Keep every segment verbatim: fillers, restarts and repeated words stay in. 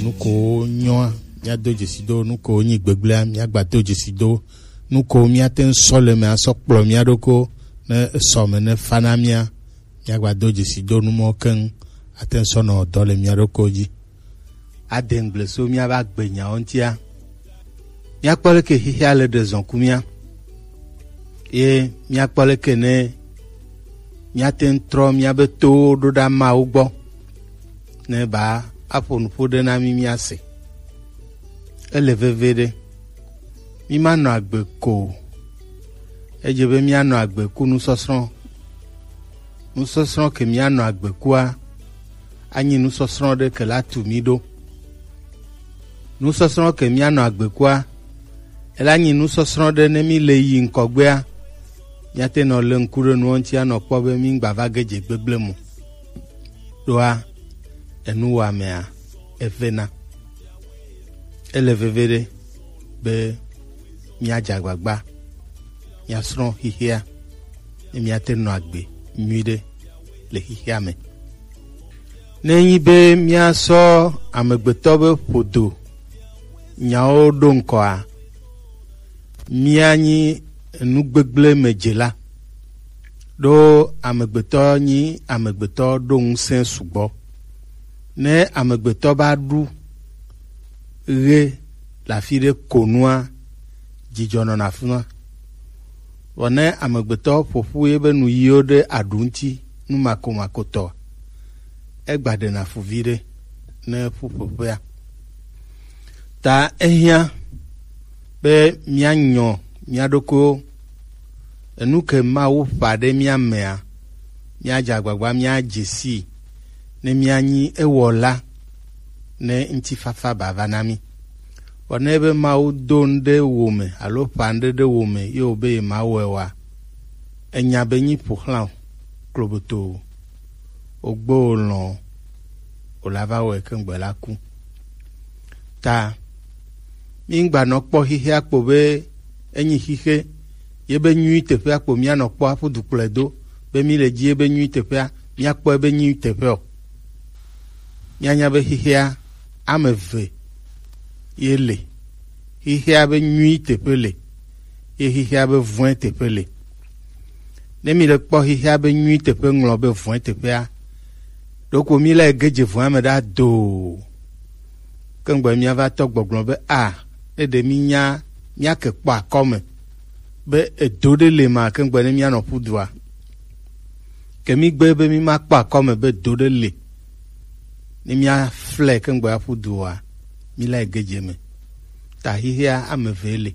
Nu ko nyɔa, míado dzesi do. Nu ko nyi gbegblẽa, míagba do dzesi do. Nu ko míate ŋu sɔ le eme asɔ kplɔ mía ɖokui ne esɔ me ne fa na mía, míagba do dzesi do nu mɔ keŋ ate ŋu sɔ nɔ dɔ le mía ɖokui dzi. Ade ŋgble so míabe agbenyawo ŋutia. Míakpɔ leke xexea le ɖe zɔn ku mía. Ye míakpɔ leke ne míate ŋu trɔ míabe towo ɖo ɖa Mawu gbɔ, ne ba aƒo nuƒo ɖe na mí míase. Ele veve ɖe. Mímanɔ agbe ko o. Edze be míanɔ agbe ku nusɔsrɔ̃. Nusɔsrɔ̃ ke míanɔ agbe kua, anyi nusɔsrɔ̃ ɖe ke la tu mí ɖo. Nusɔsrɔ̃ ke míanɔ agbe kua, ela nyi nusɔsrɔ̃ ɖe ne mí le yi ŋkɔgbea, míate nɔ le ŋku ɖe nuwo ŋuti anɔ kpɔ be mí ŋgba va ge dze gbegblẽ mo. Ɖoa, enuwɔamea evena. Ele veve ɖe be míadze agbagba míasrɔ̃ xexea, ne míate nɔ agbe nyuiɖe le xexea me. Ne enyi be míasɔ amegbetɔ be ƒodo nyawo ɖo ŋkɔa, míanyi nu gbegblẽ me dzela. Ɖo amegbetɔ nyi amegbetɔ ɖo ŋusẽ sugbɔ. Ne amegbetɔ va ɖu ɣe le afi ɖe ko nua, dzidzɔ nɔna afi ma. Vɔ ne amegbetɔ ƒo ƒu yebe nuyiwo ɖe aɖu ŋuti, nu makomakotɔ, egba ɖena fu viɖe ne ƒu ƒoƒea. Ta ehiã be míanyɔ mía ɖokuiwo. Enu ke Mawu ƒã ɖe mía mea, míadze agbagba míadze sii, ne míanyi ewɔla, ne ŋutifafa bava na mí. Vɔ ne be Mawu do nu ɖe wo me alo ƒã nu ɖe ɖe wo me ye wòbe yemawɔe oa, enya be nyi ƒo xlã o, kloboto o, wògbe wò lɔ̃ o, wòla va wɔe keŋgbe la ku. Ta míŋgba nɔ kpɔ xexea kpo be enyi xixe ye be nyui teƒea kpo míanɔ kpɔ aƒu du kplɔe do, be mí le dzi ye be nyui teƒea, míakpɔe be nyui teƒe o. Míanya be xexea ame eve ye le. Xexea be nyui teƒe le, ye xexea be vɔ̃e teƒe le. Ne mi le kpɔ xexea be nyui teƒe ŋlɔ be vɔ̃e teƒea, ɖoko mi la ge dze vɔ̃a me ɖa doo. Ke ŋgbe míava tɔ gbɔgblɔ be a, ne ɖe mínya míake kpɔ akɔme be edo ɖe le ma ke ŋgbe ne míanɔ ƒu dua. Ke mígbe be mímakpɔ akɔme be do ɖe le ne míaflɛ ke ŋgbe aƒu dua, míla ge dze me. Ta xexea ame eve le.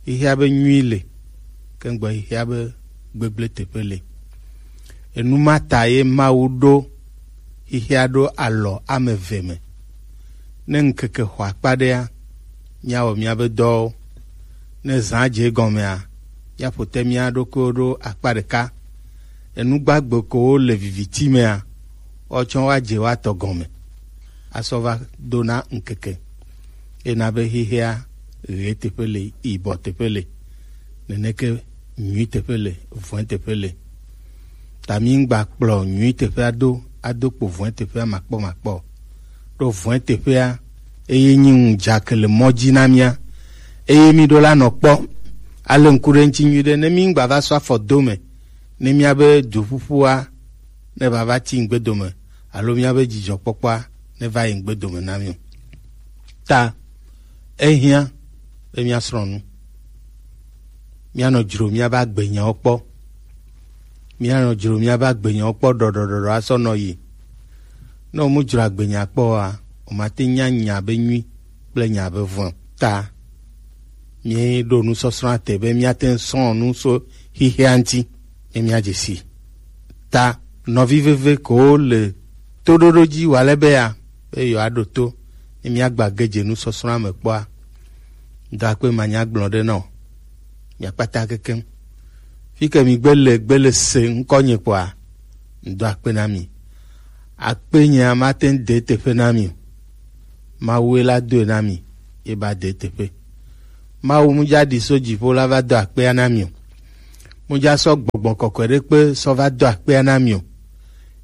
Xexea be nyui le, ke ŋgbe xexea be gbegblẽ teƒe le. Enu ma ta ye Mawu ɖo xexea ɖo alɔ ame eve me. Ne ŋkeke xɔ akpa ɖea, míawɔ míabe dɔwo. Ne zã dze egɔmea, míaƒo te mía ɖokuiwo ɖo akpa ɖeka. Enu gbagbe kowo le viviti mea, woatsɔ woadze woatɔ gɔme asɔ va do na ŋkeke. Ena be xexea ɣe teƒe le, yibɔ teƒe le, neneke nyui teƒe le, vɔ̃e teƒe le. Ta mi ŋgba kplɔ nyui teƒea do ado kpo vɔ̃e teƒea makpɔmakpɔ o. Ɖo vɔ̃e teƒea eye nyi ŋudzake le mɔ dzi na mía. Eye mi ɖo la nɔ kpɔ ale ŋku ɖe ŋuti nyuiɖe ne mi ŋgba va sɔ afɔ do me ne míabe duƒuƒua ne vava ti ŋgbedome alo míabe dzidzɔkpɔkpɔa ne va yi ŋgbedome na mí o. Ta ehiã be míasrɔ̃ nu. Míanɔ dzro míabe agbenyawo kpɔ. Míanɔ dzro míabe agbenyawo kpɔ ɖɔɖɔɖɔɖɔ asɔ nɔ yi. Ne wòmu dzro agbenya kpɔ oa, wòmate nya nya be nyui kple nya be vɔ̃. Ta míeɖo nusɔsrɔ̃a te be míate ŋu srɔ̃ nu so xexea ŋuti ne míadze sii. Ta nɔvi veve kewo le toɖoɖo dzi wòale be ya be yewoaɖo to ne míagba ge dze nusɔsrɔ̃a me kpɔa, ŋdɔ akpe manyagblɔ ɖe na wò. Mia kpata kekeŋ. Fi ke mi gbe le gbe le se ŋkɔnye kpɔa, ŋdɔ akpe na mi. Akpe nyea mate ŋu de teƒe na mi o. Mawue la doe na mi, ye ba de teƒe. Mawu mu dza ɖi so dziƒo la va do akpea na mi o. Mu dza sɔ gbɔgbɔ kɔkɔe ɖe kpe sɔ va do akpea na mi o.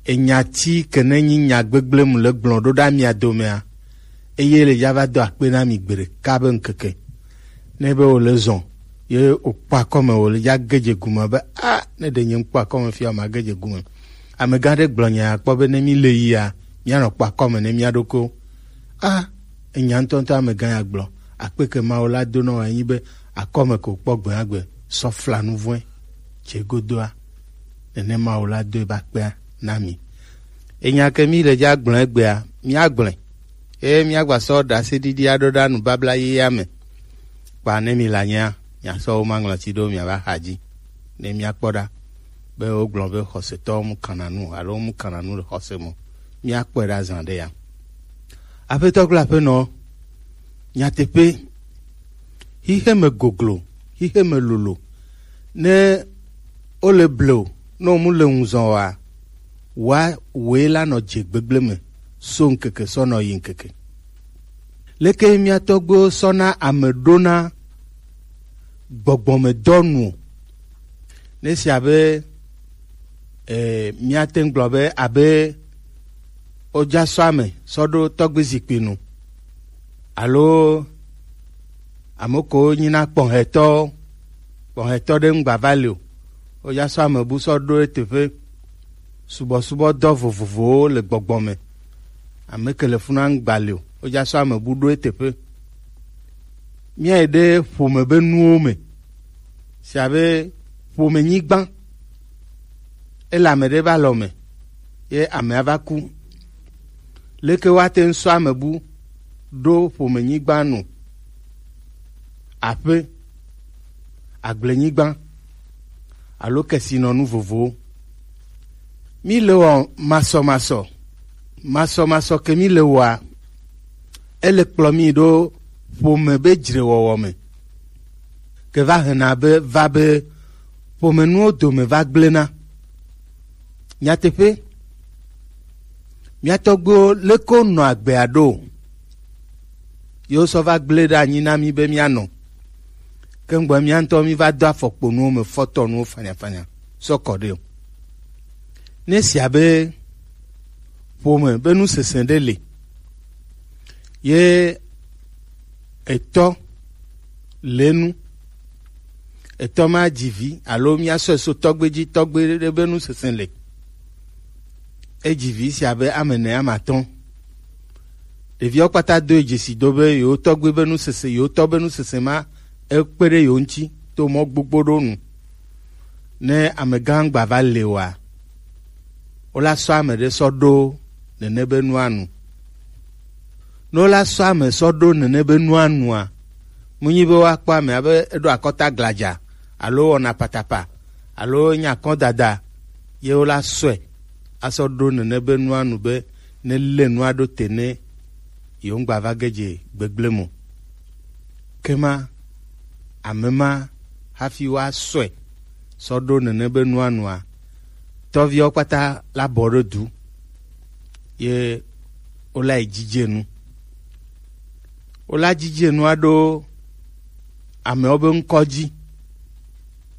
Enya ti ke ne nyi nya gbegblẽ mu le gblɔ ɖo ɖa mia domea, Eye le dza va do akpe na mi gbeɖeka be ŋkeke. Ne be wòle zɔn, ye wòkpɔ akɔme, wòle dza ge dze gume be, a, ne ɖe nye ŋkpɔ akɔme fia, ma ge dze gume. Amegã ɖe gblɔ nya ya kpɔ be ne mi le yia, mianɔ kpɔ akɔme ne mia ɖokuiwo. A, enya ŋutɔŋutɔ amegã ya gblɔ. Akpe ke Mawu la do nɔ wò enyi be akɔme ko kpɔ gbe agbe sɔ fla nu vɔ̃e tse godoa. Nenema wòle ado ebe akpea na mi. Enya ke mi le dza gblẽ egbea, míagblẽ. Eye míagba sɔ ɖaseɖiɖi aɖo ɖa nubabla yeyea me. Kpa ne mi le anyea, miasɔ wo maŋlɔti ɖo miava xa dzi. Ne míakpɔ ɖa be wogblɔ be xɔsetɔwo mu kana nu alo mu kana nu le xɔse me. Míakpɔe ɖa zã ɖe ya. Aƒetɔ kple aƒenɔ, nyateƒe, xixe me goglo, xixe me lolo. Ne wole blewu, ne wòmu le ŋuzɔn oa, wa wòe la nɔ dze gbegble me so ŋkeke sɔ nɔ yi ŋkeke. Leke mía tɔgbuiwo sɔna ame ɖona gbɔgbɔmedɔ nu o? Ne sia be, eh, míate ŋu gblɔ be abe wodza sɔ ame sɔ ɖo tɔgbi zikpui nu, alo ame ko nyina kpɔhɛtɔ, kpɔhɛtɔ ɖe ŋgba va li o, wodza sɔ ame bu sɔ ɖo eteƒe. Subɔsubɔdɔ vovovowo le gbɔgbɔ me. Ame ke le funa ŋgba li o, wodza sɔ ame bu ɖo eteƒe. Míayi ɖe ƒome be nuwo me. Sia be ƒome nyigba. Ele ame ɖe be alɔ me, ye amea va ku. Leke woate ŋu sɔ ame bu ɖo ƒome nyigba nu? Aƒe, agblenyigba, alo kesinɔnu vovowo. Mi le wɔ masɔmasɔ. Masɔmasɔ ke mi le wɔa, ele kplɔ mi ɖo ƒome be dzrewɔwɔ me. Ke va hena be, va be ƒomenuwo dome va gblẽna. Nyateƒe, mía tɔgbuiwo leke wonɔ agbea ɖo? Yewo sɔ va gblẽ ɖe anyi na mí be míanɔ. Ke ŋgbɔ mía ŋutɔ mí va do afɔkponuwo me fɔtɔnuwo fanyafanya sɔ kɔ ɖe o. Ne sia be ƒome be nusese ɖe le, ye etɔ le nu, etɔ ma dzi vi alo míasɔe so tɔgbe dzi, tɔgbe ɖe be nusese le. Edzi vi sia be ame ene, ame atɔ̃. Ɖeviawo kpata doe dzesi do be yewo tɔgbe be nusese, yewo tɔ be nusese ma ekpe ɖe yewo ŋuti to mɔ gbogbo ɖo nu. Ne amegã gba va le oa, wola sɔ ame ɖe sɔ ɖo nene be nua nu. Ne wola sɔ ame sɔ ɖo nene be nua nua, mu nyi be woakpɔ ame abe eɖo akɔta gladza alo wɔna patapa alo nya kɔdada, ye wola sɔe asɔ ɖo nene be nua nu be ne le nua ɖo te ne yewo ŋgba va ge dze gbegblẽ mo. Ke ma, ame ma hafi woasɔe sɔ ɖo nene be nua nua, tɔviawo kpata la bɔ ɖo du, ye wola yi dzidze nu. Wola dzidze nua ɖo amewo be ŋkɔ dzi.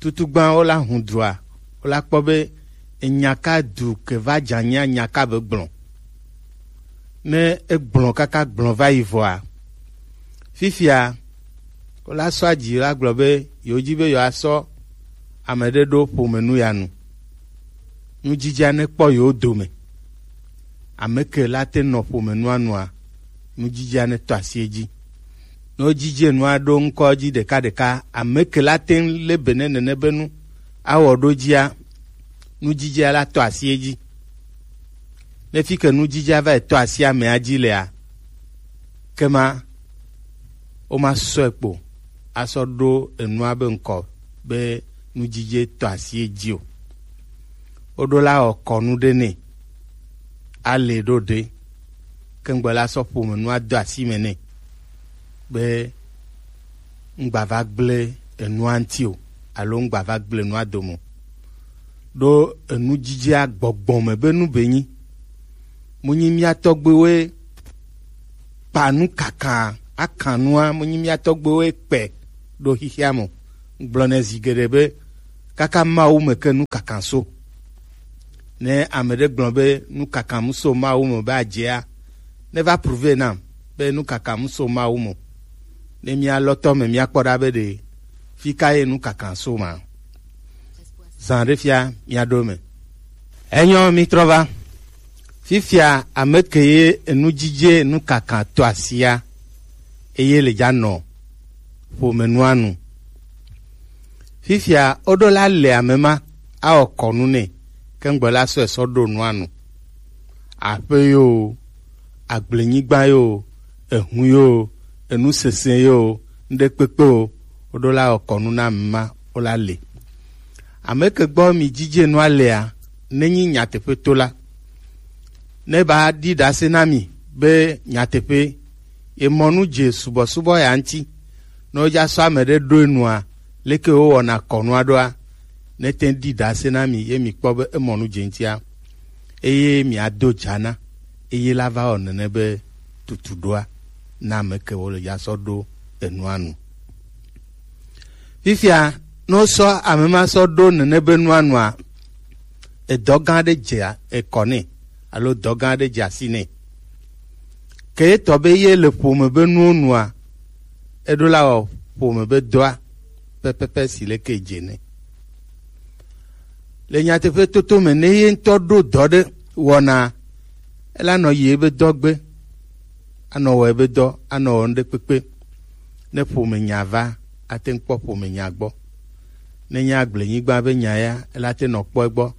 Tutugbã wola hu dua, wola kpɔ be enya ka du ke va dza nya nya ka be gblɔ. Ne egblɔ kaka gblɔ va yi vɔa, fifia wola sɔ adzi la gblɔ be yewo dzi be yewoasɔ ame ɖe ɖo ƒome nu ya nu. Nudzidzea ne kpɔ yewo dome. Ame ke la te nɔ ƒome nua nua, nudzidzea ne tɔ asi edzi. Ne wodzidze nua ɖo ŋkɔ dzi ɖekaɖeka, ame ke la te ŋu le be ne nene be nu awɔ ɖo dzia, nudzidzea la tɔ asi edzi. Ne fi ke nudzidzea va yi tɔ asi amea dzi lea, kema woma sɔe kpo asɔ ɖo enua be ŋkɔ be nudzidze tɔ asi edzi o. Woɖo la wɔ kɔnu ɖe nɛ, ale ɖo ɖe, ke ŋgbe la sɔ ƒome nua do asi me nɛ be ŋgba va gblẽ enua ŋuti o, alo ŋgba va gblẽ enua dome o. Ɖo enudzidzea gbɔgbɔ me be nu be nyi. Mu nyi mía tɔgbuiwoe kpa nu kaka, akan nua, mu nyi mía tɔgbuiwoe kpe ɖo xixia me o. Gblɔ nɛ zi geɖe be kaka Mawu me ke nu kaka so. Ne ame ɖe gblɔ be nu kaka mu so Mawu me be adzea, ne va prouver nam. be nu kaka mu so Mawu mo. Ne mía lɔtɔ me mía kpɔ ɖa be ɖe fi ka ye nu kaka so ma. Zan ɖe fia mía ɖo me. Enyɔ mi trɔ va. Fifia ame ke ye enu dzidze nu kaka to asia eye le dza nɔ ƒome nua nu. Fifia woɖo la le ame ma awɔ kɔnu nɛ kengbe la sɔ esɔ ɖo nua nu. Aƒe yo, agblenyigba yo, ehu yo, enu sese yo, ŋɖe kpekpe o, woɖo la wɔ kɔnu na ame ma wo la le. Ame ke gbɔ mi dzidze nua lea, nenyi nyateƒe to la, ne ba ɖi ɖase na mi be nyateƒe ye mɔ nu dze subɔsubɔ ya ŋuti, ne wodza sɔ ame ɖe ɖo enua, leke wowɔna kɔnua ɖoa, ne te ɖi ɖase na mi ye mi kpɔ be emɔ nu dze ŋutia, eye miado dza na, eye la va wɔ nene be tutu ɖoa na ame ke wo le ya sɔ ɖo enua nu. Fifia, ne wosɔ ame ma sɔ ɖo nene be nua nua, edɔ gã aɖe dze ekɔ nɛ alo dɔ gã aɖe dze asi nɛ. Ke etɔ be ye le ƒome be nuwo nua, eɖo la wɔ ƒome be dɔa pɛpɛpɛ si leke dze nɛ. Le nyateƒe toto me, ne ye ŋutɔ ɖo dɔ ɖe wɔna, ela nɔ yi ebe dɔ gbe, anɔ wɔ ebe dɔ, anɔ wɔ ŋɖe kpekpe. Ne ƒome nya va, ate ŋu kpɔ ƒome nya gbɔ. Ne nye agblenyigba be nya ya, ela te nɔ kpɔ egbɔ.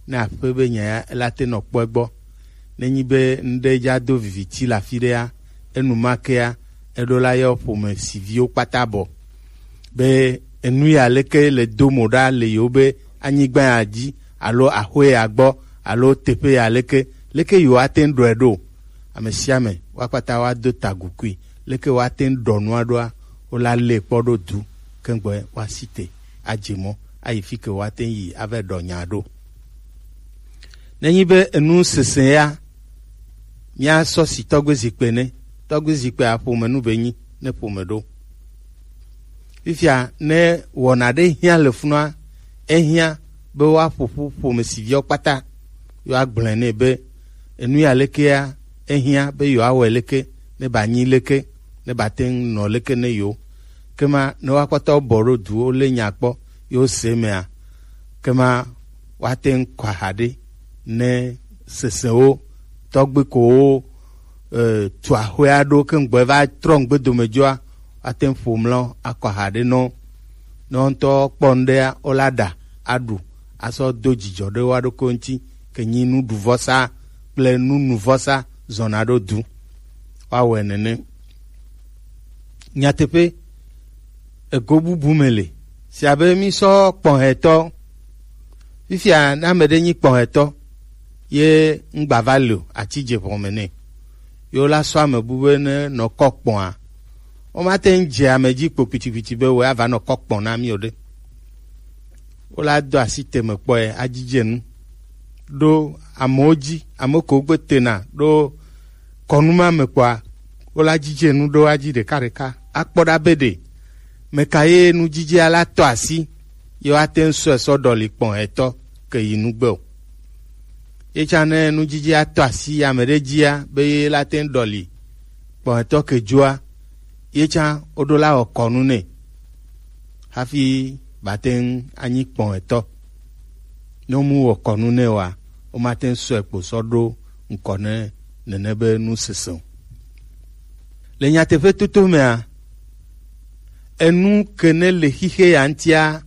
Ne aƒe be nya ya, ela te nɔ kpɔ egbɔ. Ne nyi be ŋɖe dza do viviti le afi ɖea, enu ma kea, eɖo la yɔ ƒome si viwo kpata bɔ. Be enu ya leke le do mo ɖa le yewo be anyigba ya dzi alo axwe ya gbɔ alo teƒe ya leke, leke yewo ate ŋu ɖɔe ɖo. Ame sia ame woakpata woado tagukui, leke woate ŋu ɖɔ nua ɖoa, wola lée kpɔ ɖo du kengbe woasi te adze mɔ ayi fi ke woate ŋu yi ava ɖɔ nya ɖo. Nenyi be enu sese ya, míasɔ si tɔgbe zikpe ne, tɔgbe zikpe aƒome nu be nyi ne ƒome ɖo. Fifia ne wɔna ɖe hiã le funua, ehiã be woaƒo ƒu ƒome si viwo kpata, yewoagblɔe nɛ be enu ya lekea, ehiã be yewoawɔe leke, ne ba nyi leke, ne ba te ŋu nɔ leke ne yewo. Kema ne woakpata wobɔ ɖo duwo lé nya kpɔ, yewo se mea, kema woate ŋu kɔ aha ɖe ne sesewo tɔgbi ko wo e, tu axɔe aɖewo ke ŋgbɔ va trɔ ŋgbe dome dzoa, woate ŋu ƒo mlɔ akɔ aha ɖe nɔ. Ne wo ŋutɔ kpɔ ŋɖea, wola ɖa aɖu asɔ do dzidzɔ ɖe woa ɖokui ŋuti, ke nyi nuɖuvɔsa kple nunuvɔsa zɔna ɖo du. Woawɔe nene. Nyateƒe, ego bubu me le. Si abe mísɔ kpɔhɛtɔ. Fifia ne ame ɖe nyi kpɔhɛtɔ, ye ŋgba va le o, ati dze ʋɔme nɛ. Ye wola sɔ ame bu be ne nɔ kɔ kpɔa, womate ŋu dze ame dzi kpo kpitikpiti be wòe ava nɔ kɔ kpɔ na mí o ɖe. Wola do asi teme kpɔe, adzidze nu ɖo amewo dzi, ame kewo gbe tena ɖo kɔnu ma me kpɔa, wola dzidze nu ɖo adzi ɖekaɖeka, akpɔ ɖa be ɖe meka ye nudzidzea la tɔ asi, ye woate ŋu sɔe sɔ ɖɔli kpɔhɛtɔ ke yi nugbe o. Ye tsã ne nudzidzea tɔ asi ame ɖe dzia, be ye la te ŋu ɖɔli kpɔhɛtɔ ke dzoa, ye tsã woɖo la wɔ kɔnu nɛ hafi bate ŋu anyi kpɔhɛtɔ. Ne womu wɔ kɔnu nɛ oa, womate ŋu sɔe kpo sɔ ɖo ŋkɔ ne nene be nu sese o. Le nyateƒe toto mea, enu ke ne le xixe ya ŋutia,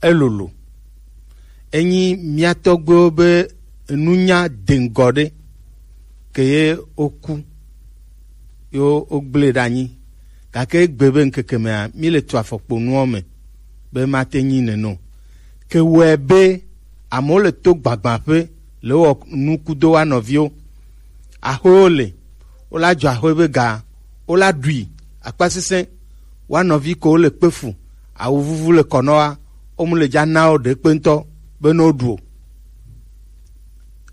elolo. Enyi mía tɔgbuiwo be nunya deŋgɔ ɖe ke ye woku, ye wogblẽ ɖe anyi. Gake egbe be ŋkeke mea, míle tu afɔkpo nuwo me be mate nyi nene o. Ke wɔe be amewo le to gbagbã ƒe le wɔ nuku do wa nɔviwo. Axwewo le, wola dzɔ axwe be ga, wola ɖui akpasesẽ. Wa nɔvi ko le kpe fu, awu vuvu le kɔ nɔ wa, wo mu le dza na wo ɖe kpe ŋutɔ be ne woɖu o.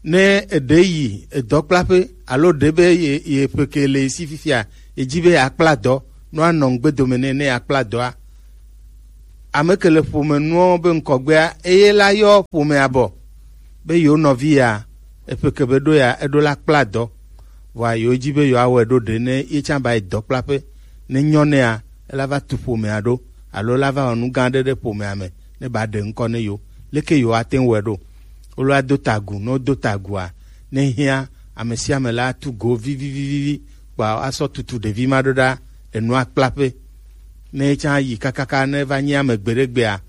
Ne eɖe yi edɔkplaƒe alo ɖe be ye, ye ƒe ke le si fifia, ye dzi be yeakpla dɔ, no anɔ ŋgbe dome nɛ ne yeakpla dɔa. Ame ke le ƒome nuwo be ŋkɔgbea, eye la yɔ ƒomea bɔ be yewo nɔvi ya, eƒe ke be ɖo ya, eɖo la kpla dɔ. Vɔa yewo ji be yewoawɔe ɖo ɖe ne ye tsã ba yi dɔkplaƒe ne nyɔ nɛa, ela va tu ƒomea ɖo alo ela va wɔ nu gã aɖe ɖe ƒomea me ne ba ɖe ŋkɔ ne yewo. Leke yewoate ŋu wɔe ɖo? Wolo ado ta agu, ne wodo ta agua, ne hiã, ame sia ame la atu go vivivivivi kpa asɔ tutu ɖevi ma ɖo ɖa le nua kplaƒe. Ne etsã yi kakaka ne va nyi ame gbeɖegbea,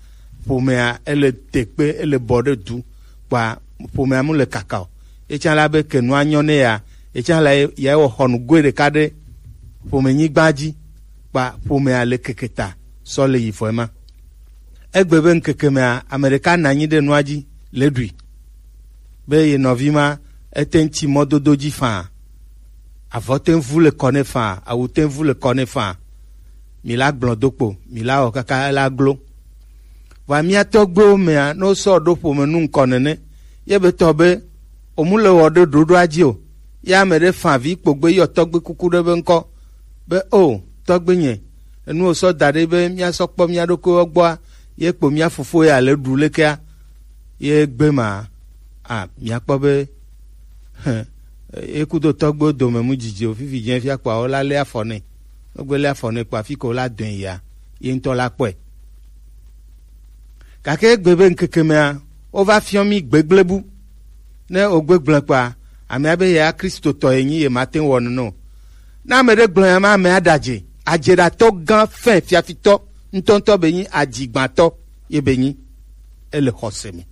ƒomea ele te kpe, ele bɔ ɖe du kpa ƒomea mu le kaka o. Etsã la be ke nua nyɔ ne ya, etsã la ya wɔ xɔnu goe ɖeka ɖe ƒomenyigba dzi kpa ƒomea le keke ta sɔ le yi vɔe ma. Egbe be ŋkeke mea, ame ɖeka nɔ anyi ɖe nua dzi le ɖui be ye nɔvi ma ete ŋu tsi mɔdodo dzi faa. Avɔ te ŋu vu le kɔ nɛ faa, awu te ŋu vu le kɔ nɛ faa. Mi la gblɔ do kpo, mi la wɔ kaka ela glo. Vɔa mía tɔgbuiwo mea, ne wosɔ ɖo ƒome nu ŋkɔ nene, ye be tɔ be womu le wɔ ɖe ɖoɖoa dzi o. Ye ame ɖe fa vi kpogbe yɔ tɔgbe kuku ɖe be ŋkɔ be, o tɔgbe nye, enu wosɔ da ɖe be míasɔ kpɔ mía ɖokuiwo gbɔa, ye kpo mía fofo ya le ɖu lekea, ye gbe ma, a, míakpɔ be, hẽ, ye kudo tɔgbewo dome mu dzidzi o, fifi dze fia kpɔa, wola lé afɔ nɛ. Wogbe lé afɔ nɛ kpɔa, fi ko wola dɔe yia, ye ŋutɔ la kpɔe. Gake egbe be ŋkeke mea, wova fiɔ mí gbegble bu. Ne wògbe gblẽ kpɔa, amea be yea Kristotɔ yenyi, yemate ŋu wɔ nene o. Ne ame ɖe gblɔ nya ma, amea ɖe adze. Adzeɖatɔ gã fɛ̃, fiafitɔ ŋutɔŋutɔ be nyi, adzigbãtɔ ye be nyi. Ele xɔse me.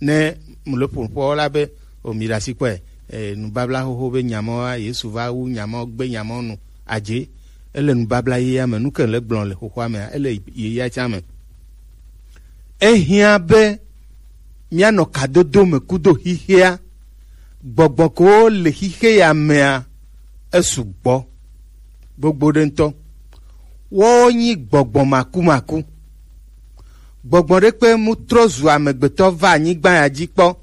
Ne mu le ƒoƒoa la be, o mi ɖe asi kpɔe, e, nubabla xoxo be nya ma wa, Yesu va wu nya ma, gbe nya ma nu. Adze, ele nubabla yeyea me, nu ke le gblɔ le xoxoa mea, ele yeyea tsã me. Ehiã be míanɔ kadodo me kudo xixea. Gbɔgbɔ kewo le xixe ya mea, esu gbɔ gbogbo ɖe ŋutɔ. Woawo nyi gbɔgbɔ makumaku. Gbɔgbɔ ɖe kpe mu trɔ zu amegbetɔ va anyigba ya dzi kpɔ.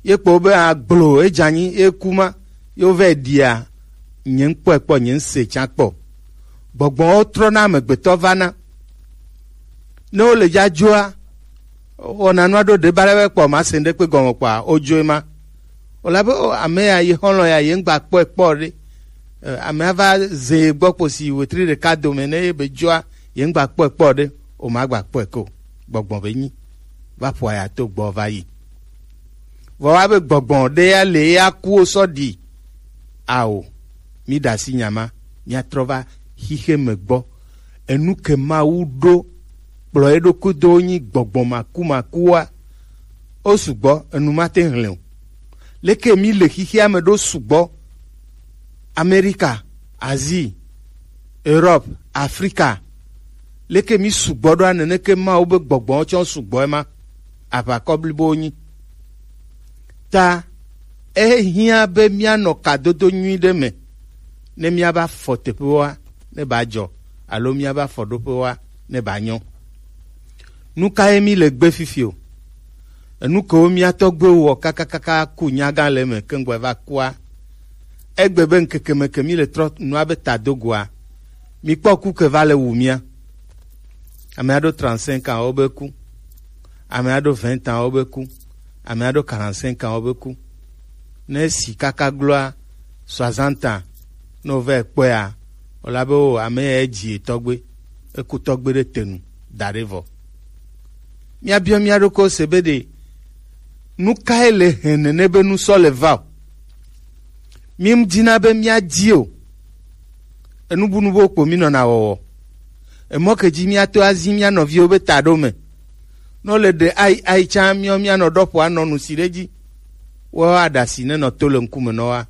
Ye kpɔ be agblo edze anyi, ye ku ma, ye wovɛ ɖia, nye ŋkpɔe kpɔ, nye ŋse tsã kpɔ. Gbɔgbɔwo trɔna amegbetɔ vana. Ne wole dzadzoa, wɔna nua ɖo ɖe ba ɖe be kpɔ ma se ŋɖe kpe gɔme kpɔa, wodzoe ma. Wòle abe, o, ame ya, ye xɔlɔ̃ ya, ye ŋgba kpɔe kpɔ ɖe. E, amea va ze ye gbɔ kposi wetri ɖeka dome ne ye be dzoa, ye ŋgba kpɔe kpɔ ɖe, o, magba kpɔe ko. Gbɔgbɔ be nyi. Va ƒoa ya to gbɔ va yi. Vɔ wa be gbɔgbɔ ɖe ya le ya kuwo sɔ ɖi. Ao, mi ɖe asi nya ma, míatrɔ va xixe me gbɔ. Enu ke Mawu ɖo kplɔ eɖokui do nyi gbɔgbɔ makumakua. Wo sugbɔ, enu ma te hlẽ o. Leke mi le xixea me ɖo sugbɔ? Amerika, Asie, Europe, Afrika. Leke mi sugbɔ ɖoa, neneke Mawu be gbɔgbɔwo tsɔ sugbɔ ema? Aʋakɔ blibo wonyi. Ta ehiã be míanɔ kadodo nyui ɖe me, ne míava fɔ teƒewoa, ne ba dzɔ, alo míava fɔ ɖoƒewoa, ne ba nyɔ. Nu kae mi le gbe fifi o? Enu kewo mía tɔgbuiwo wɔ kakakaka ku nyagã le eme keŋgbɔ va kua? Egbe be ŋkeke me ke mi le trɔ nua be ta do goa, mi kpɔ ku ke va le wu mía. Ame aɖo trente-cinq ans wo be ku. Ame aɖo vingt ans wo be ku. Ame aɖo quarante-cinq ans wo be ku. Ne si kaka gloa soixante ans, ne wova kpɔea, wòla be, o, ame ya dzi tɔgbe, eku tɔgbe ɖe te nu da ɖe vɔ. Míabiɔ mía ɖokuiwo se be ɖe nu kae le hɛn nene be nu sɔ le va o? Mi dina be míadi o. Enubunubo kpo mi nɔna wɔwɔ. Emɔ ke dzi míato azi mía nɔviwo be ta ɖo me. Ne wole ɖe ai ai tsã míɔ míanɔ ɖɔ ƒo anɔ nu si ɖe dzi. Woawo aɖasi nenɔ to le ŋkume nɔ wa.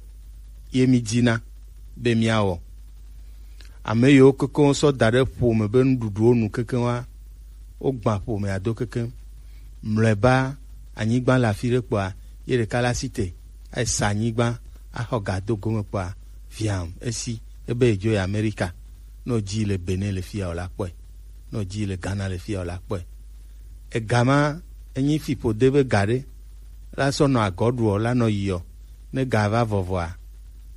Ye mi dina be míawɔ. Ame yiwo kekeŋ sɔ da ɖe ƒome be nuɖuɖuwo nu kekeŋ wa, wogbã ƒomea do kekeŋ. Mlɔeba, anyigba le afi ɖe kpɔa, ye ɖeka la si te, esa anyigba, axɔ ga do gome kpɔa, viam, esi, ebe yedzo yi Amerika. Ne wodzi le Benin le fia, wòla kpɔe. Ne wodzi le Ghana le fia, wòla kpɔe. Ega ma, enyi fiƒode be ga ɖe, la sɔ nɔ agɔ ɖuɔ, la nɔ yiɔ. Ne ga va vɔvɔa,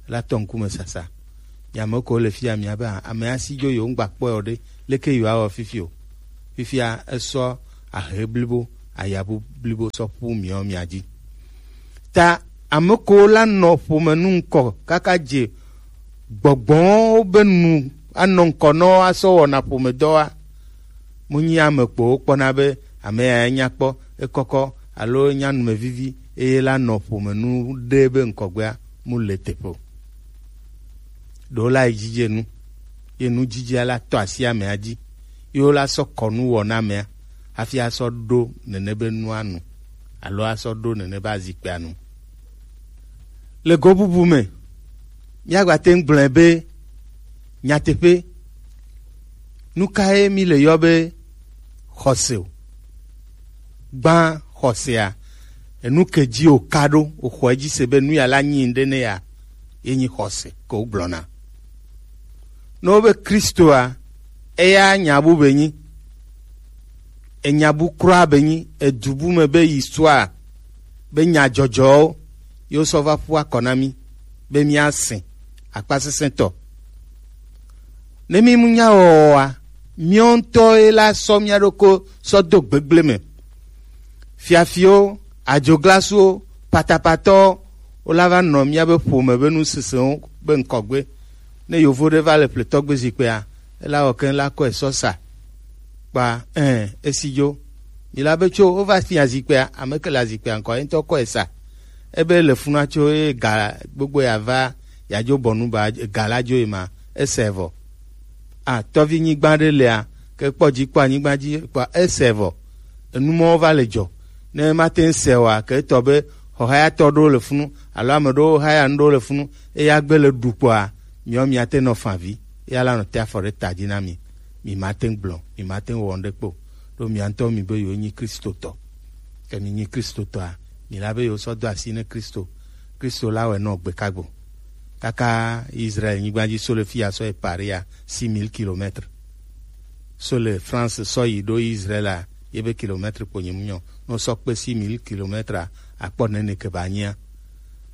la tɔ ŋkume sasa. Mi ame kewo le fia, mia be, a, ame asi dzo yewo ŋgba kpɔe o ɖe, leke yewoawɔ fifi o? Fifia esɔ ahe blibo, ayabu blibo sɔ ƒu miɔ mia dzi. Ta Ame kewo la nɔ ƒome nu ŋkɔ kaka dze gbɔgbɔwo be nu anɔ ŋkɔ nɔ asɔ wɔna ƒomedɔ wa. Mu nyi ame kpowo kpɔna be ame ya nya kpɔ, ekɔkɔ alo nya numevivi eye la nɔ ƒome nu ɖe be ŋkɔgbea mu le teƒe o. Ɖewo la yi dzidze nu, ye nu dzidzea la tɔ asi amea dzi, ye wo la sɔ kɔ nu wɔ na amea hafi asɔ ɖo nene be nua nu alo asɔ ɖo nene be azikpea nu. Le go bubu me, míagba te ŋu gblɔe be nyateƒe, nu kae mi le yɔ be xɔse o? Gbã xɔsea, enu ke dzi o ka ɖo, o xɔ edzi se be nu ya la nyi ŋɖe ne ya, ye nyi xɔse ke wo gblɔna. Ne wo be Kristoa, eya nya bu be nyi, enya bu kura be nyi, edu bu me be histoire, be nya dzɔdzɔwo, ye wo sɔ va ƒu akɔ na mi, be mía se akpasesẽtɔ. Ne mi mu nya wɔwɔa, míawo ŋutɔ ye la sɔ mía ɖokui sɔ do gbegble me. Fiafiwo, adzoglasuwo, patapatɔwo, wo la va nɔ míabe ƒome be nusinsɛnwo be ŋkɔgbe. Ne yovo ɖe va le ƒletɔgbe zikpuia, ela wɔ keŋ la kɔe sɔ sa. Kpa, ɛ, esi dzo. Mi la be tso wova fia zikpuia, ame ke le azikpuia ŋkɔ, ye ŋutɔ kɔe sa. Ebe le funa tso ye ga gbogbo ya va, ya dzo bɔnu ba, ga la dzo ye ma, ese vɔ. A, tɔvi nyigba ɖe lea, ke kpɔ dzi kpɔ anyigba dzi kpɔ ese vɔ. Enu mɔwo va le dzɔ. Ne mate ŋu se oa, ke etɔ be xɔhayatɔ ɖewo le funu, alo ame ɖewo haya nu ɖewo le funu, eya gbe le ɖu kpɔa, miɔ miate nɔ favi, eya la nɔ te afɔ ɖe ta dzi na mi. Mi mate ŋu gblɔ, mi mate ŋu wɔ nu ɖe kpo. Ɖo mia ŋutɔ mi be yewo nyi Kristotɔ. Ke mi nyi Kristotɔa, mi la be yewo sɔ do asi ne Kristo. Kristo la wɛ nɔ gbe kagbo. Kaka Israel nyigba dzi so le fi ya sɔ yi Paris ya, six mille kilomètres. So le France sɔ yi ɖo Israel a, ye be kilomètre kpo nyi mu nyɔ. No sɔ kpe six mille kilomètres a, akpɔ nene ke ba nyia.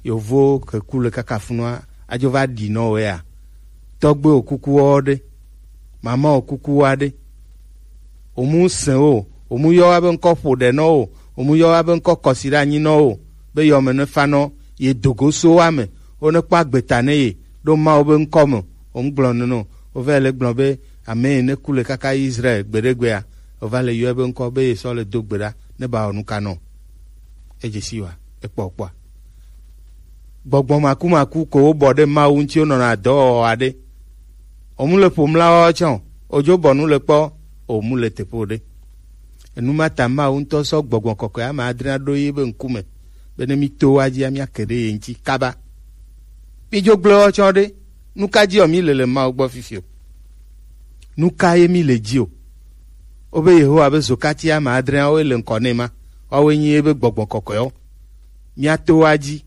Yovo ke ku le kaka funua, adzo va ɖi nɔ wɛ a. Tɔgbe o kuku wɔ ɖe. Mama o kuku wa ɖe. Omu sɛn o, omu yɔ wa be ŋkɔ ƒo ɖe nɔ o, omu yɔ wa be ŋkɔ kɔsi ɖe anyi nɔ o, be yɔ me ne fa nɔ, ye dogo so wa me, wo ne kpɔ agbeta ne ye, ɖo Mawu be ŋkɔ me, omu gblɔ nene o, wo va le gblɔ be, ame yi ne ku le kaka Israel gbeɖegbea, wo va le yɔe be ŋkɔ be ye sɔ le do gbe ɖa, ne ba wɔ nu ka nɔ. Edze si wa, ekpɔ kpɔa. Gbɔgbɔ makumaku ko wo bɔ ɖe Mawu ŋuti wo nɔna dɔ wɔ wa ɖe. Omu le ƒo mla wa tsã o, odzo bɔ nu le kpɔ, omu le teƒe o ɖe. Enu ma ta Mawu ŋutɔ sɔ gbɔgbɔ kɔkɔe ame adre ɖo yi be ŋkume, be ne mi to wa dzia, mia ke ɖe ye ŋuti kaba. Mi dzo gblɔ wa tsã ɖe, nu ka dzi o mi le le Mawu gbɔ fifi o? Nu ka ye mi le dzi o? Wo be Yehowa be zokati ame adreawo le ŋkɔ nɛ ma, woawoe nyi ye be gbɔgbɔ kɔkɔewo. Mia to wa dzi,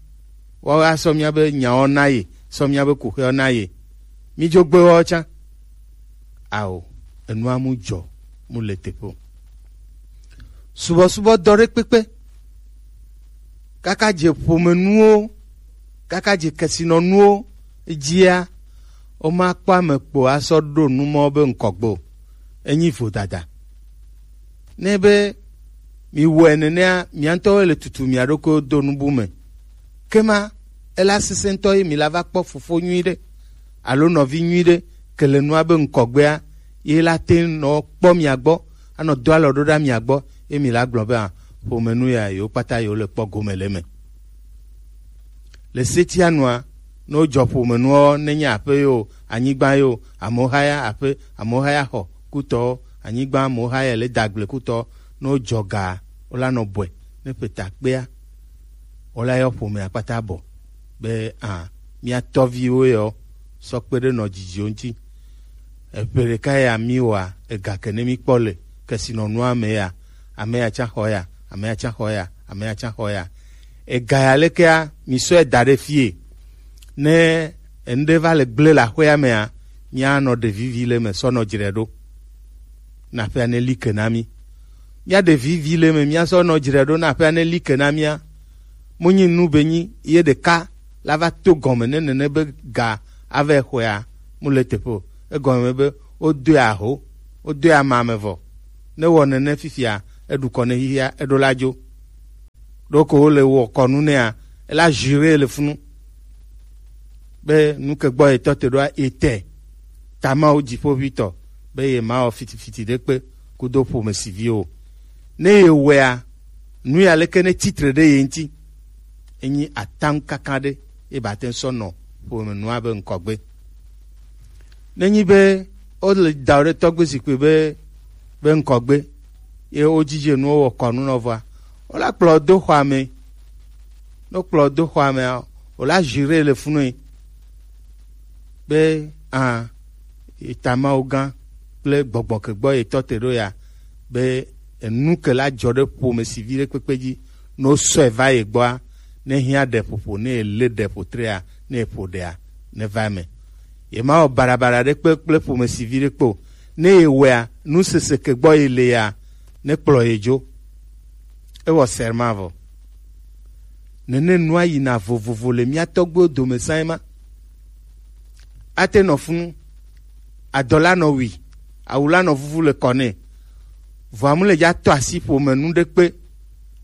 woawo asɔ mia be nyawo na ye, sɔ mia be kuxewo na ye. Mi dzo gbe wa tsã. Ao, enua mu dzɔ, mu le teƒe o. Subɔsubɔ dɔ ɖe kpekpe. Kaka dze ƒomenuwo, kaka dze kesinɔnuwo dzia, womakpɔ ame kpo asɔ ɖo nu mɔ be ŋkɔgbe o. Enyi vodada. Ne be mi wɔe nenea, mia ŋutɔwoe le tutu mia ɖokuiwo do nubu me. Ke ma, ela sesẽ ŋutɔ ye mi la va kpɔ fofo nyui ɖe, alo nɔvi nyui ɖe, ke le nua be ŋkɔgbea, ye la te nɔ kpɔ mia gbɔ, anɔ do alɔ ɖo ɖa mia gbɔ, ye mi la gblɔ be, a, ƒomenu ya yewo kpata yewo le kpɔ gome le eme. Le setia nua, ne wodzɔ ƒomenuawo, nenye aƒe yo, anyigba yo, amewo haya aƒe, amewo haya xɔ kutɔwo, anyigba amewo haya le dagble kutɔwo, ne wodzɔ ga, wola nɔ bɔe, ne ƒe ta kpea, wola yɔ ƒomea kpata bɔ, be, a, mia tɔviwo yɔ, sɔ kpe ɖe nɔ dzidziwo ŋuti. Eƒe ɖeka ya mi wɔa, ega ke ne mi kpɔ le kesinɔnua me ya, ame ya tsã xɔ ya, ame ya tsã xɔ ya, ame ya tsã xɔ ya. Ega ya lekea, mi sɔe da ɖe fie. Ne enu ɖe va le gblẽ le aƒea mea, mia nɔ ɖe vivi le me sɔ nɔ dzre ɖo. Na aƒea ne li ke na mi. Mia ɖe vivi le me, mia sɔ nɔ dzre ɖo na aƒea ne li ke na mia. Mu nyi nu be nyi ye ɖeka la va to gɔme ne nene be ga ava xɔea, mu le teƒe o. Egɔme be wodoe aho, wodoe ama me vɔ. Ne wɔ nene fifia, eɖu kɔ ne xixia, eɖo la dzo. Ɖoko wo le wɔ kɔnu nɛa, ela jure le funu be nu ke gbɔ ye tɔ te ɖoa, ye te ta Mawu dziƒoʋitɔ be ye ma wɔ fitifiti ɖe kpe kudo ƒomesivi o. Ne ye wɔea, nu ya leke ne titre ɖe ye ŋuti, enyi ataŋu kaka ɖe ye ba te ŋu sɔ nɔ ƒome nua be ŋkɔgbe. Nenyi be wole da ɖe tɔgbe zikpui be be ŋkɔgbe ye wodzidze nuwo wɔ kɔnu nɔ vɔa, wola kplɔ do xɔa me. Ne wokplɔ do xɔa mea, wola jure le funu be a, eta Mawu gã kple gbɔgbɔ ke gbɔ ye tɔ te ɖo ya be enu ke la dzɔ ɖe ƒomesivi ɖe kpekpe dzi, ne wosɔe va ye gbɔa, ne hiã ɖe ƒoƒo, ne ye lé ɖe ƒo trea, ne ye ƒo ɖea, ne va eme. Ye ma wɔ barabara ɖe kpe kple ƒomesivi ɖe kpe o. Ne ye wɔea, nu sese ke gbɔ ye le ya, ne kplɔ ye dzo. Ewɔ serment vɔ. Nene nua yina vovovo le mía tɔgbuiwo dome sã ema. Ate nɔ funu, adɔ la nɔ wui, awu la nɔ vuvu le kɔ nɛ. Vɔa mu le dza tɔ asi ƒome nu ɖe kpe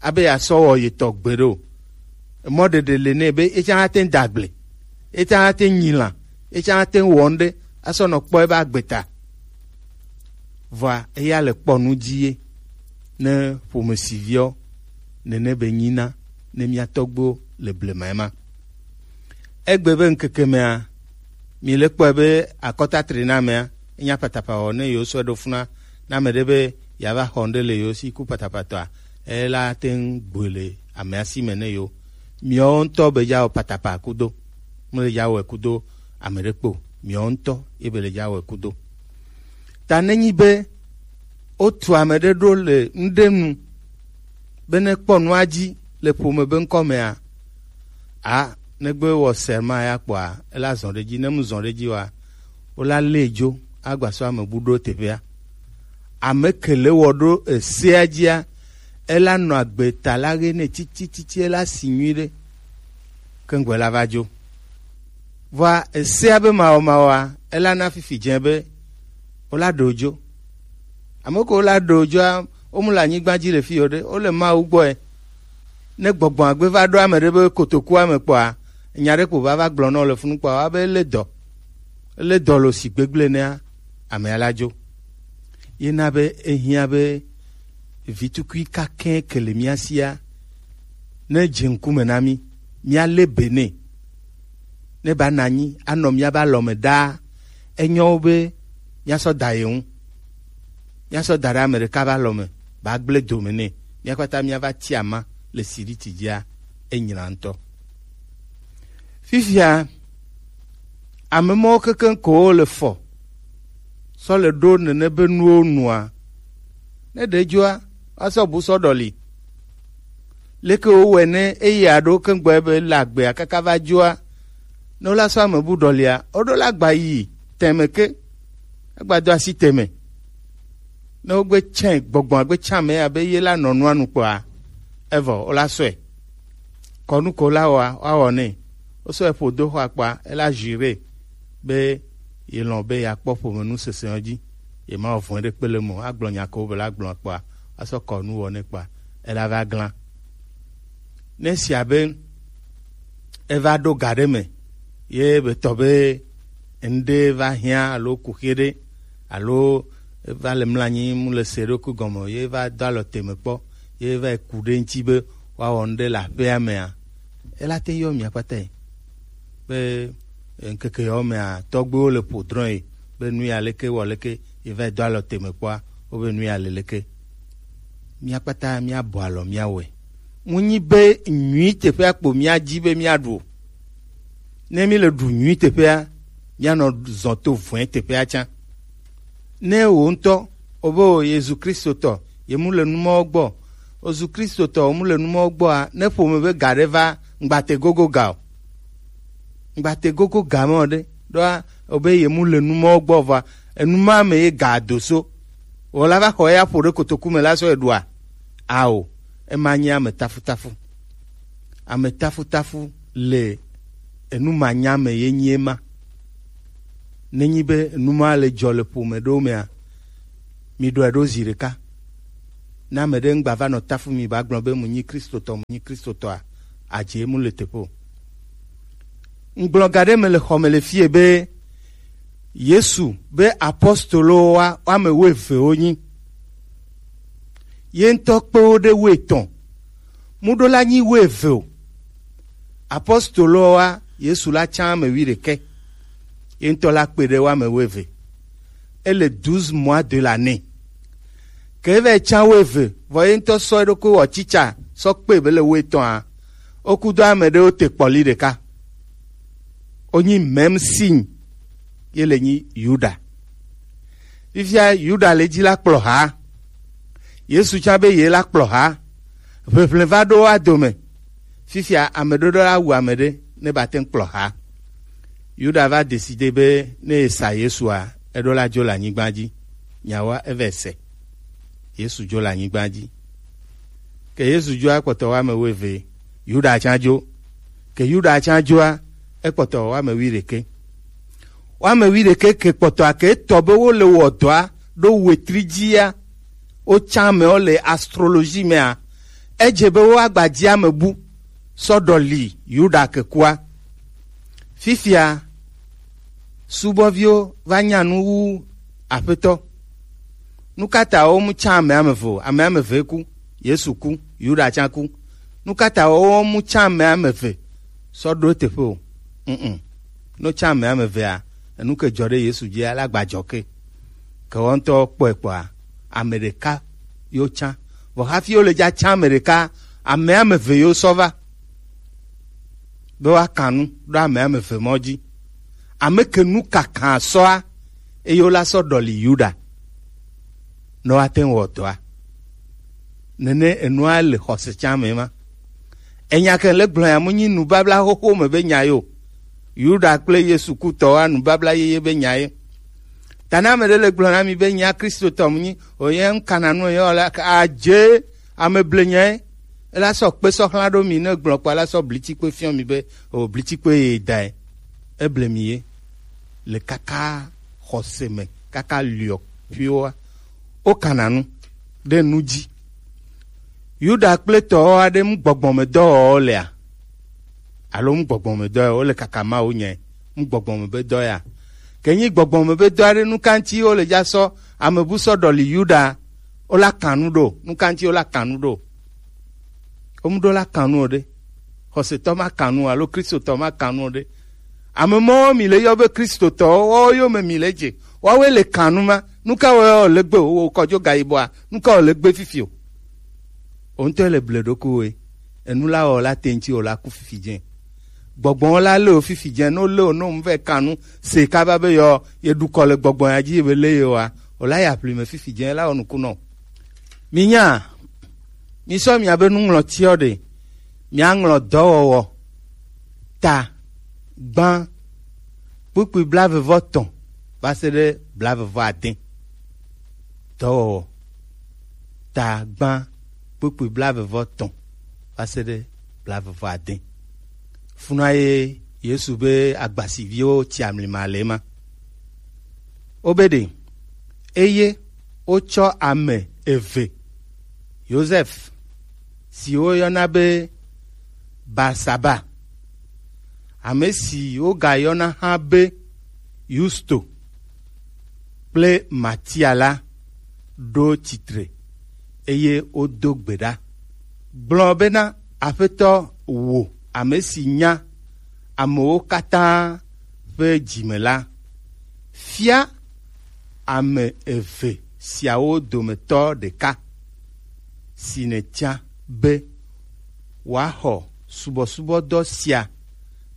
abe yeasɔ wɔ yetɔ gbeɖe o. Mɔ ɖeɖe le nɛ be etsã ate ŋu da agble, etsã ate ŋu nyi lã, etsã ate ŋu wɔ nu ɖe asɔ nɔ kpɔ ebe agbe ta. Vɔa eya le kpɔ nu dzi ye ne ƒomesiviwo nene be nyina ne mía tɔgbuiwo le blema ema. Egbe be ŋkeke mea, mi le kpɔe be akɔta tri na amea, enya patapawɔ ne yewo sɔe ɖo funa na ame ɖe be yeava xɔ ŋɖe le yewo si ku patapatɔa, ela te ŋu gbɔe le amea si me ne yewo. Miawo ŋutɔ be dza wɔ patapa kudo, mele dza wɔe kudo ame ɖe kpe o. Miawo ŋutɔ ye be le dza wɔe kudo. Ta nenyi be wotu ame ɖe ɖo le ŋɖe nu be ne kpɔ nua dzi le ƒome be ŋkɔ mea, a, negbe wɔ serment ya kpɔa, ela zɔ ɖe dzi, ne mu zɔ ɖe dzi wa, wola lé dzo agba sɔ ame bu ɖo teƒea. Ame ke le wɔ ɖo esea dzia, ela nɔ agbe ta la ɣe nɛ titititi, ela si nyuiɖe. Keŋgbɔ ela va dzo. Vɔa esea be mawɔmawɔa, ela na fifi dze be wola ɖe wo dzo. Ame kewo la ɖe wo dzoa, wo mu le anyigba dzi le fi o ɖe, wo le Mawu gbɔe. Ne gbɔgbɔ agbe va ɖo ame ɖe be kotokua me kpɔa, nya ɖe kpo va va gblɔ nɔ le funu kpɔa, wa be ele dɔ, ele dɔ lo si gbegble nea, amea la dzo. Ye na be ehiã be vitukui kakɛ ke le mía sia ne dze ŋkume na mí, mía lé be nɛ. Ne ba nɔ anyi anɔ mía be alɔ me ɖaa, enyo be mía sɔ da ye ŋu. Mía sɔ da ɖe ame ɖeka be alɔ me, ba gblẽ dome nɛ. Mía kpata mía va ti ama le siriti dzia, enyla ŋutɔ. Fifia, ame mɔwo kekeŋ ko wo le fɔ sɔ le ɖo nene be nuwo nua. Ne ɖe dzoa, woasɔ bu sɔ ɖɔli. Leke wowɔe ne eya ɖo keŋgbɔ be le agbea kaka va dzoa, ne wola sɔ ame bu ɖɔlia, woɖo la gba yi tɛmɛ ke, agba do asi tɛmɛ. Ne wogbe tsɛ gbɔgbɔ agbe tsɛ ame ya be ye la nɔ nua nu kpɔa, evɔ wola sɔe. Kɔnu ko la wɔa, woawɔ nɛ. Wosɔe ƒo do xɔa kpɔa, ela jure be ye lɔ̃ be yeakpɔ ƒomenu sesẽwo dzi. Ye ma wɔ vɔ̃e ɖe kpe le eme o. Agblɔ nya ko be la gblɔ kpɔa, asɔ kɔnu wɔ nɛ kpɔa, ela va glã. Ne sia be eva ɖo ga ɖe me, ye be tɔ be ŋɖe va hiã alo kuxi ɖe, alo eva le mlanyi mu le se ɖokui gɔme o, ye va do alɔ teme kpɔ, ye va yi ku ɖe ŋuti be woawɔ ŋɖe le aƒea mea, ela te yɔ mia kpata yi. Be ŋkeke yawo mea, tɔgbuiwo le ƒo drɔ̃ yi be nu ya leke wɔ leke, ye va yi do alɔ teme kpɔa, wobe nu ya le leke. Mía kpata míabɔ alɔ míawɔe. Mu nyi be nyui teƒea kpo míadi be míaɖu o. Ne míle ɖu nyui teƒea, míanɔ zɔ to vɔ̃e teƒea tsã. Ne wò ŋutɔ, wòbe wò Yesu Kristotɔ, ye mu le nu mawo gbɔ. Yesu Kristotɔ, wò mu le nu mawo gbɔa, ne ƒome be ga ɖe va, ŋgbate gogo ga o. Ŋgbate gogo ga me o ɖe, ɖoa, wòbe ye mu le nu mawo gbɔ vɔa, enu ma me ye ga do so. Wò la va xɔ eya ƒo ɖe kotoku me la sɔ eɖua? Ao, ema nye ame tafutafu. Ame tafutafu le enu manya me ye nyi ema. Nenyi be enu ma le dzɔ le ƒome ɖewo mea, mi ɖɔe ɖo zi ɖeka. Ne ame ɖe ŋgba va nɔ tafu mi ba gblɔ be mu nyi Kristotɔ, mu nyi Kristotɔa, adze mu le teƒe o. Ŋgblɔ ga ɖe me le xɔ me le fie be Yesu be apostolowoa, woame wuieve wonyi. Ye ŋutɔ kpe wo ɖe wuietɔ̃. Mu ɖo la nyi wuieve o. Apostolowoa, Yesu la tsã ame wuiɖekɛ. Ye ŋutɔ la kpe ɖe woame wuieve. Ele douze mois de l'année. Ke eva yi tsã wuieve, vɔ ye ŋutɔ sɔ eɖokui wɔ tsitsa sɔ kpe be le wuietɔ̃a, wo kudo ame ɖewo te kpɔli ɖeka. Wonyi même signe ye le nyi Yuda. Fifia Yuda le dzi la kplɔ ha. Yesu tsã be ye la kplɔ ha. Ʋeʋlẽ va ɖo woa dome. Fifia ame ɖoɖo la wu ame ɖe ne ba te ŋu kplɔ ha. Yuda va décidé be ne esa Yesua, eɖo la dzo le anyigba dzi. Nyawoa eve se. Yesu dzo le anyigba dzi. Ke Yesu dzoa kpɔtɔ woame wuieve, Yuda tsã dzo. Ke Yuda tsã dzoa, ekpɔtɔ woame wuiɖekɛ. Woame wuiɖekɛ ke kpɔtɔa ke etɔ be wole wɔ dɔa ɖo wetri dzia, wotsã amewo le astrologie mea, edze be woagba dzi ame bu sɔ ɖɔli Yuda ke kua. Fifia subɔviwo va nya nu wu Aƒetɔ. Nu ka ta womu tsã ame ame eve o? Ame ame eve ku, Yesu ku, Yuda tsã ku. Nu ka ta womu tsã ame ame eve sɔ ɖo teƒe o? Mm. No tsã ame ame evea, enu ke dzɔ ɖe Yesu dzia, la gba dzɔ ke. Ke wo ŋutɔ kpɔe kpɔa, ame ɖeka yo tsã. Vɔ hafi wo le dza tsã ame ɖeka, ame ame eve yo sɔ va be woaka nu ɖo ame ame eve mɔ dzi. Ame ke nu kakã sɔa, eye wola sɔ ɖɔli Yuda ne woate ŋu wɔ dɔa. Nene enua le xɔse tsã me ma. Enya ke le gblɔ ya mu nyi nubabla xoxo me be nya yo. Yuda kple Yesu kutɔwoa nubabla yeye be nya ye. Ta ne ame ɖe le gblɔ na mi be nya Kristotɔ mu nyi, o ye ŋkana nu ye wala adze ame ble nya ye. Ela sɔ kpe sɔ xlã ɖo mi ne gblɔ kpa la sɔ blitsi kpe fiɔ mi be o blitsi kpe ye da ye. Eble mi ye le kaka xɔse me kaka liɔ ƒioa. Wokana nu ɖe nu dzi. Yuda kple tɔwo aɖe ŋu gbɔgbɔmedɔwɔwɔ lea? Alo ŋu gbɔgbɔmedɔ ya wole kaka Mawu nyae? Ŋu gbɔgbɔme be dɔ ya. Ke nyi gbɔgbɔme be dɔ aɖe nu ka ŋuti wole dza sɔ ame bu sɔ ɖɔli Yuda, wola kan nu ɖo? Nu ka ŋuti wola kan nu ɖo? Womu ɖo la kan nu o ɖe. Xɔsetɔ ma kan nu o alo Kristotɔ ma kan nu o ɖe. Ame mɔwo mi le yɔ be Kristotɔwo, woawo yome mi le dze. Woawoe le kan nu ma. Nu ka wɔe wole gbe wo kɔdzo gayibɔa? Nu ka wole gbe fifi o? Wo ŋutɔ le ble ɖokuiwòe. Enu la wɔ la te ŋuti wòla ku fifi dze. Gbɔgbɔ la lé o fifi dze, no lé o no ŋu vɛ kan nu se kaba be yɔ ye ɖu kɔ le gbɔgbɔ ya dzi be lé ye wa. O la ya ƒli me fifi dze la wɔ nuku nɔ. Minya, misɔ miabe nuŋlɔtiɔ ɖe, miaŋlɔ dɔwɔwɔ ta gbã kpukpui blaeve vɔ tɔn va se ɖe blaeve vɔ ade. Dɔwɔwɔ ta gbã kpukpui blaeve vɔ tɔn va se ɖe blaeve vɔ ade. Funa ye Yesu be agbasiviwo tsi amlima le ema. Wobede, eye wotsɔ ame eve, Yosef, si woyɔna be Barsaba, ame si wogayɔna hã be Yusto, kple Matia la ɖo tsitre, eye wodo gbe ɖa, gblɔ bena, Aƒetɔ, wò ame si nya amewo katã ƒe dzi me la, fia ame eve siawo dometɔ ɖeka si nètia be wòaxɔ subɔsubɔdɔ sia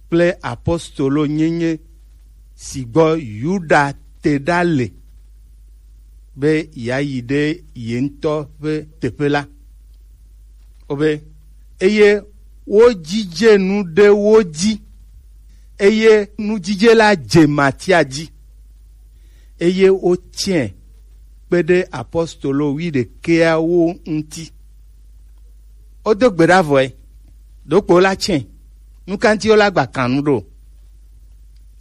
kple apostolo nyenye si gbɔ Yuda te ɖa le, be yeayi ɖe ye ŋutɔ ƒe teƒe la. Wobe, eye wodzidze nu ɖe wo dzi, eye nudzidze la dze Matia dzi, eye wotsɛe kpe ɖe apostolo wuiɖekɛawo ŋuti. Wodo gbe ɖa vɔe, ɖokpo la tsɛ, nu ka ŋuti wola gba kan nu ɖo?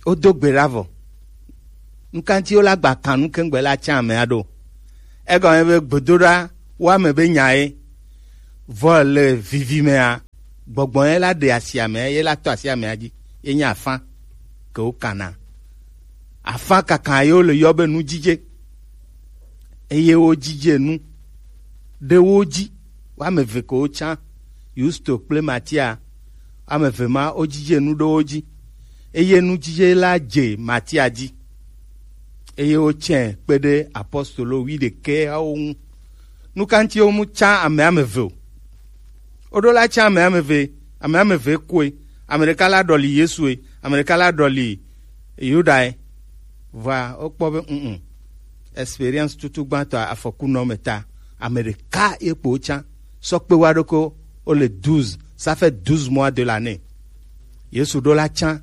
Wodo gbe ɖa vɔ, nu ka ŋuti wola gba kan nu keŋgbe la tsɛ amea ɖo? Egɔme be gbedoɖa woame be nya ye, vɔ le vivi mea, Gbɔgbɔ ye la ɖe asi amea, ye la tɔ asi amea dzi, ye nye afã ke wo kana. Afã kaka ye wo le yɔ be nujije. Eye wo jije nu ɖe wo dzi. Wo ame eve ke wo tsã, Yusto kple Matia, ame eve ma wo jije nu ɖe wo dzi. Eye nujije la dze Matia dzi. Eye wo tsɛ kpe ɖe apostolo wuiɖekɛawo ŋu. Nu ka ŋuti wo mu tsã ame ame eve o? Woɖo la tsã ame ame eve, ame ame eve koe. Ame ɖeka la ɖɔli Yesue, ame ɖeka la ɖɔli Yudae. Vɔa wokpɔ be mm experience tutu gbãtɔ afɔku nɔ me ta, ame ɖeka ye kpo tsã sɔ kpe wa ɖoko, wo le douze, ça fait douze mois de l'année. Yesu ɖo la tsã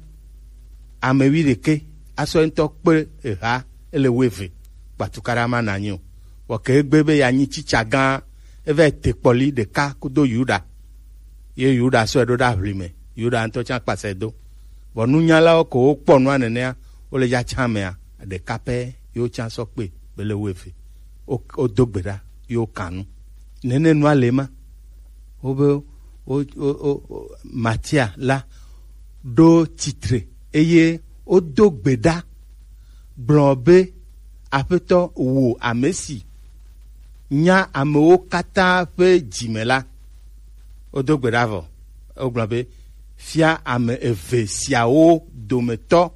ame wuiɖekɛ asɔ ŋutɔ kpe eha, ele wuieve. Kpatukaɖa ma nanyi o. Vɔ ke egbe be yeanyi tsitsa gã, eva yi te kpɔli ɖeka kudo Yuda. Ye Yuda sɔe ɖo ɖe aʋlime. Yuda ŋutɔ tsã kpasɛ do. Vɔ nunyalawo ko wokpɔ nua nenea, wole ya tsã mea, ɖeka pɛ ye wotsã sɔ kpe be le wuieve. Wo- wodo gbe ɖa ye wokan nu. Nene nua le ma. Wobe wo- wo- wo- wo- Matia la ɖo tsitre eye wodo gbe ɖa gblɔ be, Aƒetɔ, wò ame si nya amewo katã ƒe dzi me la. Wodo gbe ɖa vɔ, wogblɔ be, fia ame eve siawo dometɔ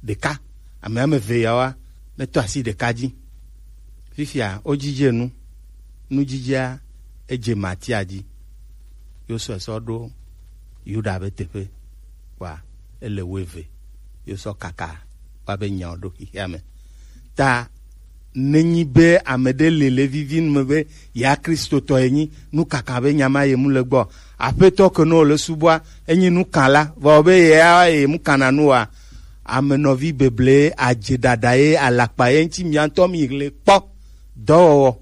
ɖeka, ame ame eve yawoa, netɔ asi ɖeka dzi. Fifia wodzidze nu, nudzidzea edze Matia dzi, ye wosɔe sɔ ɖo Yuda be teƒe, kpɔa ele wuieve, ye wosɔ kaka va be nyawo ɖo xexea me. Ta nenyi be ame ɖe le le vivi nu me be ya Kristotɔ ye nyi, nu kaka be nya ma ye mu le gbɔ. Aƒetɔ ke no le subɔa, enyi nu kan la, vɔ be ya ye mu kana nu wa, ame nɔvi beble adze ɖaɖa ye alakpa ye ŋuti mia ŋutɔ mi le kpɔ. Dɔwɔwɔ,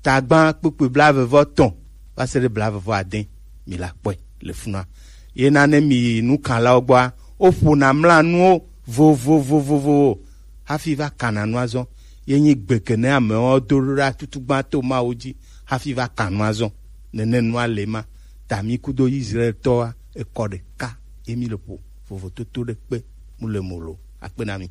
tagbã kpukpui blaeve vɔ etɔ̃ va se ɖe blaeve vɔ ade, mi la kpɔe le funua. Ye na ne mi yi nukanlawo gbɔa, woƒona mlanuwo vovovovovovo hafi va kana nua zɔ. Ye nyi gbe ke ne amewo do ɖo ɖa tutugbã to Mawu dzi hafi va kan nua zɔ. Nene nua le ma. Ta mi kudo Israel tɔa ekɔ ɖeka ye mi le ƒo vovototo ɖe kpe mu le mo lo. Akpe na mi.